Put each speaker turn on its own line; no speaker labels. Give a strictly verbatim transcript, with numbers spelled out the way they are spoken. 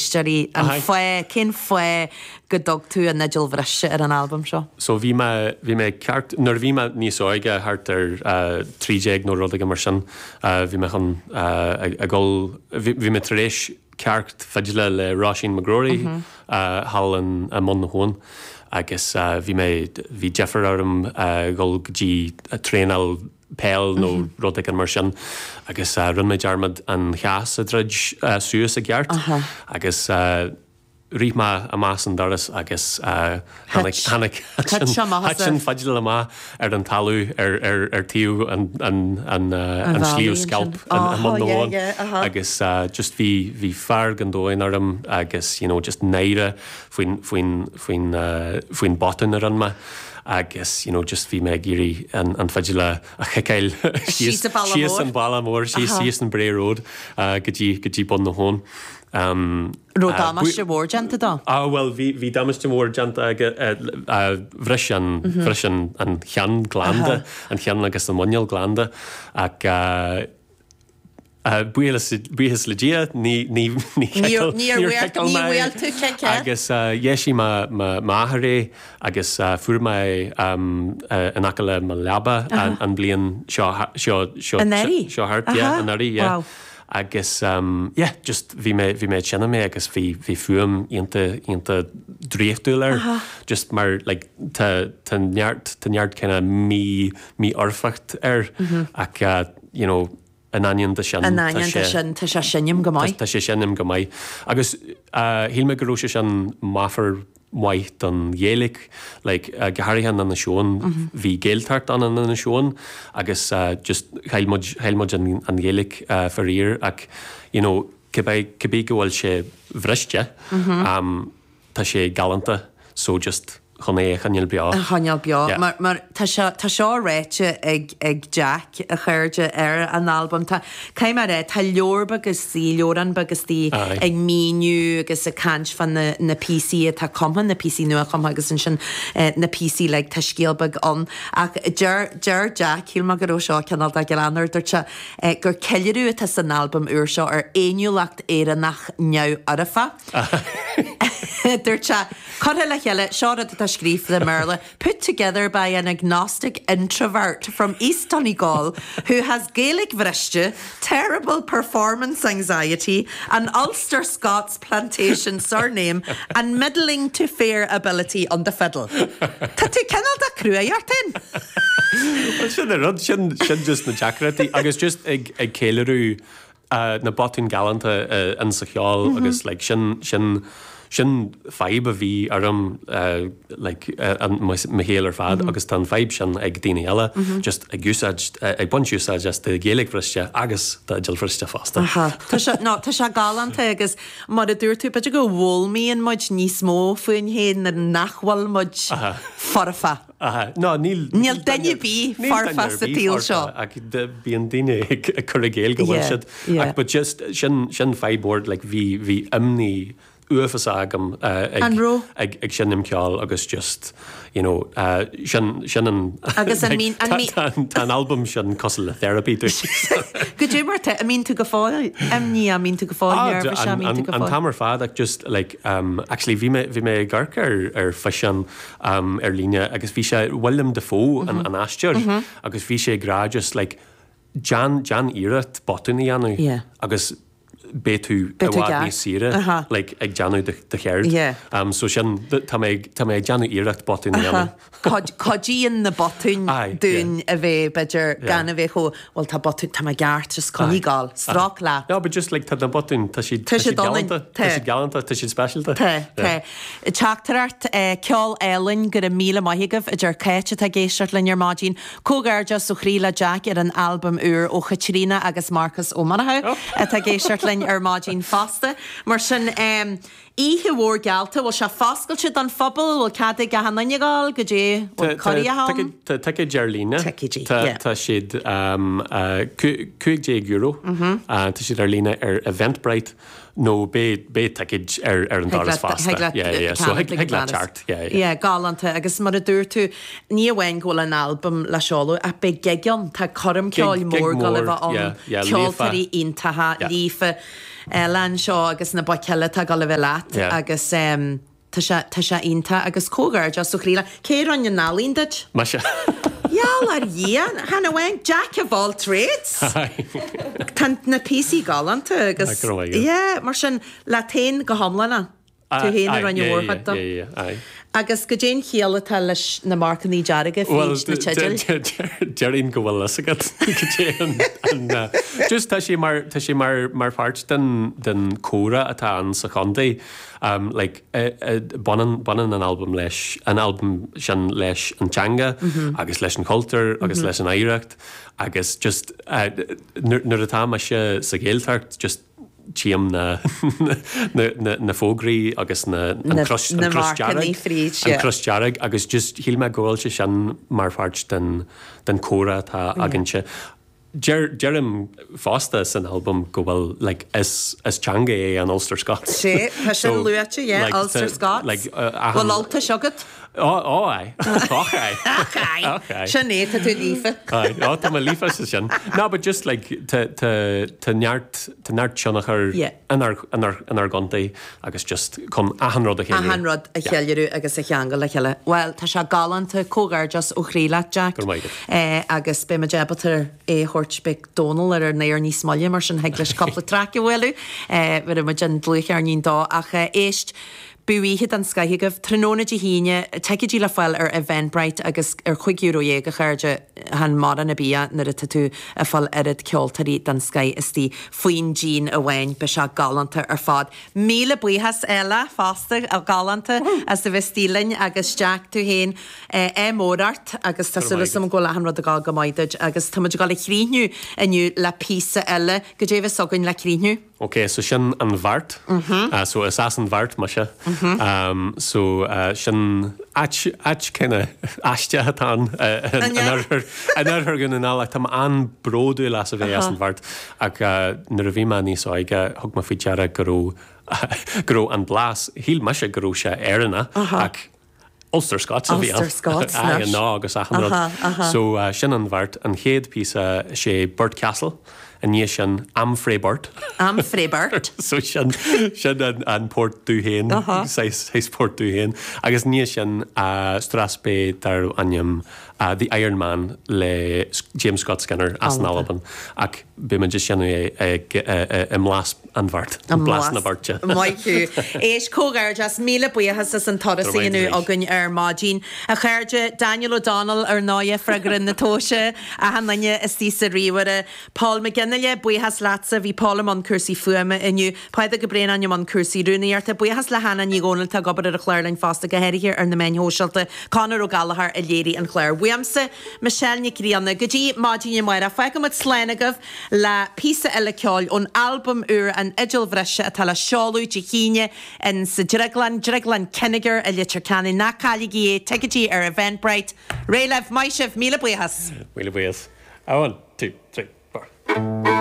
éisteoirí an fáth, cén fáth go dtug tú an fhidil bhriste ar an albam seo?
So bhí mé bhí mé ceart nuair a bhí mé níos óige thart ar uh, trí déag nó rud éigin mar sin uh, bhí mé chun uh, ag ag dul bhí bhí mé tar éis ceacht fidle le Róisín McGrory mm -hmm. uh, thall in i mBun na hAbhann agus uh, bhí mé bhí deifir orm uh, dul go dtí uh, traenáil peil nó mm -hmm. rud éigin mar sin agus uh, rinne mé dearmad an chás a dhruid uh, suas i gceart
Aha.
agus uh, rith mé amach as an doras agus uh, tháinig tháinig
Thit sé amach as
thit an fidil amach ar an talamh ar ar ar taobh an an an uh, an
bhealaí
sliabh
ansin.
Scailp an
Aha,
an Bun na
yeah,
hAbhann.
yeah, aha.
agus uh, just bhí bhí fearg an domhain orm agus you know just náire faoin faoin faoin uh, faoin botún a rinne mé agus you know just bhí mé ag iarraidh an an fidil a a chiceáil
Síos an bealach
síos
mór.
an bealach mór síos
Aha.
síos an Bray Road uh, go dtí go dtí Bun na hAbhann. Um,
Raibh
uh,
damáiste mhór déanta dó?
Ah well bhí bhí damáiste mór déanta aige uh, bhris an bhris an an cheann glanda an cheann agus an muineál glanda ach uh, uh, buíochas buíochas le Dia ní ní ní
Níor níor
níor
bhfuil
chiceáil
ní
mé.
bhfuil tú cice?
Agus uh, dheisigh m'athair é agus uh, fuair mé um, uh, in aice le mo leaba an, an bliain seo seo seo
Anuraidh?
seo thart yeah,
Aha.
anuraidh yeah.
Wow.
Agus um, yeah, just bhí mé bhí mé sinna mé agus bhí bhí fuaim iontach iontach draíochtúil air just mar like tá tá neart tá neart kinda mí mífhoirfeacht air ach uh, you know in ainneoin de sin
An
tá
ainneoin
sé-
sin tá sé seinm go maith.
Tá sé seinm go maith. Agus uh, shíl mé go raibh sé sin meafar maith don Ghaeilge, like, uh, go háirithe in Inis Eoghain bhí Gaeltacht an in Inis Eoghain agus uh, just chaill muid chaill muid an, an Ghaeilge uh, faraor ach you know, cibé cibé go bhfuil sé bhriste um, tá sé galánta so just chun é a choinneáil beo.
A choinneáil beo
Yeah.
mar mar tá seo tá seo ráite ag ag Jack a chairde ar an albam tá cai mar é tá leabhar agus sí leabhrán agus tí
Aye.
ag míniú agus ag caint fá na na píosaí atá cumtha na píosaí nua cumtha agus ansin eh, na píosaí like, tá scéal beag ann ach deir deir Jack shíl mé go raibh seo cineál de greannmhar dúirt sé eh, gur ceiliúradh atá san albam úr seo ar fhéiniúlacht Éireannach neamhfhoirfe. Dúirt sé curtha le chéile seo rud atá scríofa i mBéarla, put together by an agnostic introvert from East Donegal who has Gaelic bhriste, terrible performance anxiety, an Ulster Scots plantation surname, and middling to fair ability on the fiddle. Tá tú cineál de cruaidh ort féin?
Well, sin an rud sin sin just na deacrachtaí agus just ag ag ceiliúradh uh, na botúin galánta uh, in sa cheol mm -hmm. agus like, sin sin sin fadhb a bhí orm uh, like, uh, an mo shaol ar fad mm -hmm. agus tá an fadhb sin ag daoine eile mm -hmm. just ag úsáid uh, ag baint úsáid as de Ghaeilge bhriste agus de fhidil bhriste fosta.
Aha. Tá sé no, tá sé galánta agus mar a dúirt tú b'fhéidir go bhfoghlaimíonn muid níos mó faoin féin nuair nach bhfuil muid foirfe.
Aha. No, níl
Níl duine ar bith
níl
foirfe
duine ar
sa
bith
tsaol
foirfe,
seo.
ach de- bíonn daoine ag ag cur i gcéill go bhfuil
Yeah,
siad.
yeah.
Ach but just sin sin fadhb mór like bhí bhí imní uafásach agam uh, ag
An raibh?
ag ag seinm ceol agus just you know uh, sin sin an
Agus an
like,
mín- an
tá-
mí-
tá tá an album sin cosúil le therapy dom.
Go dé mar an mbíonn tú go fóill imní an mbíonn tú go fóill nervous
an
an mbíonn tú go
an
fóill.
t-am ar fad ach just like um, actually bhí mé bhí mé ag amharc ar ar físeán um, ar líne agus bhí sé Willem Dafoe an an aisteoir agus bhí sé ag rá just like déan déan iarracht botún a dhéanamh
Yeah.
agus beidh tú
Beidh tú
i bhfad
ceart.
níos saoire
Aha.
like ag déanamh do do cheird.
Yeah.
Um, so sin tá mé tá mé ag déanamh iarracht botún a dhéanamh.
Cuidíonn na botúin
Aye,
dúinn a bheith b'fhéidir
Yeah.
gan a bheith chomh well tá botún tá mé ceart just coinnigh ag gabháil, stráic leat.
No, but just like tá na botúin tá siad
Tá siad ionainn,
galánta
tá.
tá siad galánta tá siad speisialta.
Tá tá. Teachtaireacht eh, ceol álainn go raibh míle maith agaibh a deir Cáit atá ag éisteacht linn ar maidin. Comhghairdeas ó chroí le Jack ar an albam úr ó Chaitríona agus Marcus Ó Monachú atá ag éisteacht linn ar maidin fosta. Mar sin um, oíche mhór geallta bhfuil sé foscailte don phobal bhfuil cead ag gach éinne gabháil go dtí bhfuil cóirithe ann?
Tá ticéid ar líne.
Ticéidí,
Tá
yeah.
tá siad um, uh, cúig déag euro.
Mhm.
Uh, tá siad ar líne ar Eventbrite nó beidh beidh ticéid ar ar an doras fosta. Yeah, yeah. So thig thig leat teacht. Yeah, yeah.
Yeah, galánta agus mar a dúirt tú ní amháin go bhfuil an albam le seoladh ach beidh gig ann tá coirm ceoil
Gig- gig
mór go
mór,
bheith ann
yeah, yeah,
ceoltóirí
líofa.
iontacha
Yeah.
líofa. Ella anseo agus na boic eile atá ag dul a bheith leat
Yeah.
agus um, tá sé tá sé iontach agus comhghairdeas ó chroí leat. Cé rinne an ealaín duit?
Mise.
Gheall ar Dhia, chan amháin Jack of all trades. Tá na píosaí galánta agus
Ah, go raibh maith agat.
Yeah, mar sin leat féin go hiomlán. Tú féin a rinne mórchuid dó. Agus goidé an chiall atá leis na marcanna dearga fríd na teidil.
Déarfainn go bhfuil fhios agat goidé an- an, uh, Just tá sé mar tá sé mar mar pháirt den den chomhrá atá ann sa chontae. Um, like, uh, uh, baineann baineann an album leis an album sin leis an teanga agus leis an cultúr agus leis an oidhreacht agus just uh, nuair nuair atá mise sa Ghaeltacht just tchím na na, na, na fógraí agus na an
Na-
cros
na
an cros
marcanna
dearg,
fríd,
an
yeah.
cros dearg agus just shíl mé go bhfuil sé sin mar pháirt den den chomhrá atá againne. Deir deirim fosta san album go bhfuil like, is is teanga é an Ulster Scots.
Sé tá sin luaite, yeah,
like,
Ulster
tá-
Scots.
like, uh,
Bhfuil Ultais agat?
Ó ó ai Och ai. Och ai.
Sin é tá tú líofa.
Aye, ó tá mé líofa sa sin. No, but just like tá tá tá neart tá neart tionchar
Yeah.
inár inár inár gcontae agus just chun achan rud a cheiliúradh.
Achan rud a cheiliúradh agus a cheangal le chéile. Well, tá sé galánta comhghairdeas ó chroí leat Jack.
Go raibh maith agat.
Eh, agus beidh muid ábalta é thabhairt chuig Dónal ar ar néir níos moille mar sin thig leis cúpla traic a bhualadh, eh, bhí muid an dlúchearnín dó ach eh, éist Bíodh an scoth agaibh tráthnóna Dé hAoine ticéidí le fáil ar Eventbrite agus ar chúig euro dhéag a chairde chan mórán ar bith é nuair atá tú ag fáil oiread ceoltóirí den scoth istigh faoin díon amháin beidh sé galánta ar fad. Míle buíochas eile fosta a galánta as a bheith istigh linn agus Jack tú féin é mór ort agus tá súil agam go bhfuil achan rud ag dul go maith duit agus tá muid ag dul a chríochnú inniu le píosa eile goidé atá againn le críochnú.
Ok, so sin an Bheart mm -hmm. uh, so is as an Bheart mise mm -hmm. um, so uh, sin áit áit kinda aisteach atá uh,
An ea?
an oirthear Dhún na nGall tá an-bhródúil as a bheith as an Bheart ach uh, nuair a bhí mé níos óige thug mé faoi deara go raibh go raibh an blas shíl mise go raibh sé Éireannach ach Ulster Scots a bhí
Ulster Scots,
Aye,
anois.
ná agus achan rud. So uh, sin an Bheart an chéad píosa sé Burt Castle an ní sin Am Fré Burt.
Am Frébert.
So sin sin an, an port dubh féin sais port dubh féin agus ní sin uh, strathspey darb ainm uh, The Iron Man le James Scott Skinner as an Albain ach beidh muid sin é ag i mblas an Bheart an blas na Beirte.
Maith thú. Éist comhghairdeas míle buíochas as an turas
Go raibh maith
inniu againn ar maidin. A chairde Daniel O'Donnell ar ndóigh freagra na tomhaise achan duine istigh sa ríomhaire. Paul McGinnile buíochas leatsa bhí Paul i mbun cúrsaí fuaime inniu. Paida go bréan an cúrsaí rúnaíochta buíochas le Hannah Ní Dhomhnaill ag obair ar an chlár fosta go háirithe ar na meáin shóisialta Conor Ó Gallchóir a léirigh an chlár. Uaimse Michelle Nic Grianna go dtí maidin amárach fágfaimid slán agaibh le píosa eile ceoil ón albam úr an Fhidil Bhriste atá le seoladh Dé hAoine in sa Drioglann Drioglann Kinnegar i Leitir Ceanainn ná cailligí é ticéidí ar Eventbrite. Réidh libh maith sibh míle buíochas.
Míle buíochas. A one, two, three, four.